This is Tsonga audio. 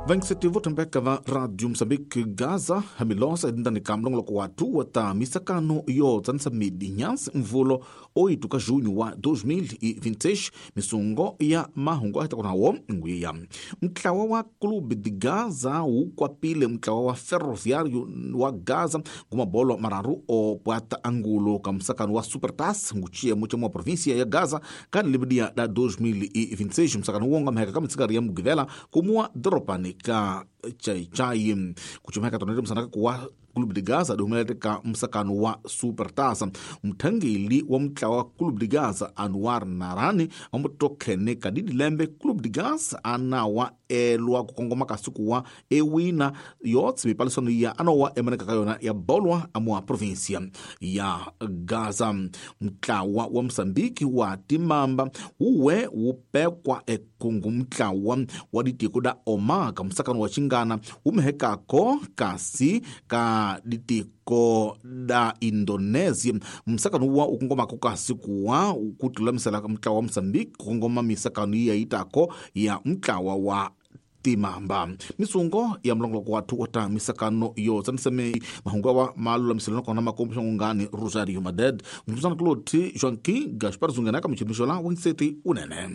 Vaingiseti vo tshembeka va Radio Mozambique Gaza hamilosa etindani ka mulongoloko watu wa ta misakano yo tsanisa midi nyansi mvulo 8 ka junho wa 2026 misungo ya mahungu a hita ngwiya. Mutlawa wa Clube de Gaza wu kwapile mutlawa wa Ferroviário wa Gaza ngumabolo mararu o pwata angulo ka musakano wa Supertaça nguchiyemo cha mwa província ya Gaza ka libidia da 2026 musakano wonga mheka ka mitsikari ya mugivela kumua doropani ka chaichai kuchumeka tonete musanaka kuwa Clube de Gaza dihumelete ka musakano wa Supertaça. Muthangeli wa mutlawa wa Clube de Gaza Anwar Narani ambotokhene ka didilembe Clube de Gaza anawa elwa ku kongoma ka siku wa ewina yotse mipalisano ya anowa emaneka ka yona ya bolwa amwa província ya Gaza. Mutlawa wa Mozambique wa timamba wuwe wupekwa ekungu mutlawa wa ditiko da Omar ka musakano wa xingana wumehekako kasi ka ditiko da Indonesia. Musakano wa ukongomako kasi kuwa kutulamisela mutlawa wa Mozambique kukongoma misakano iya itako ya mutlawa wa timamba. Misungo ya mulongoloko wathu wa ta misakano yo tsaniseme mahungu awa malulamiselo nakona makombo xangungani Rosario Maded mfumsana kuloti Joaquim Gaspar Zungenaka michinixola wangiseti unene.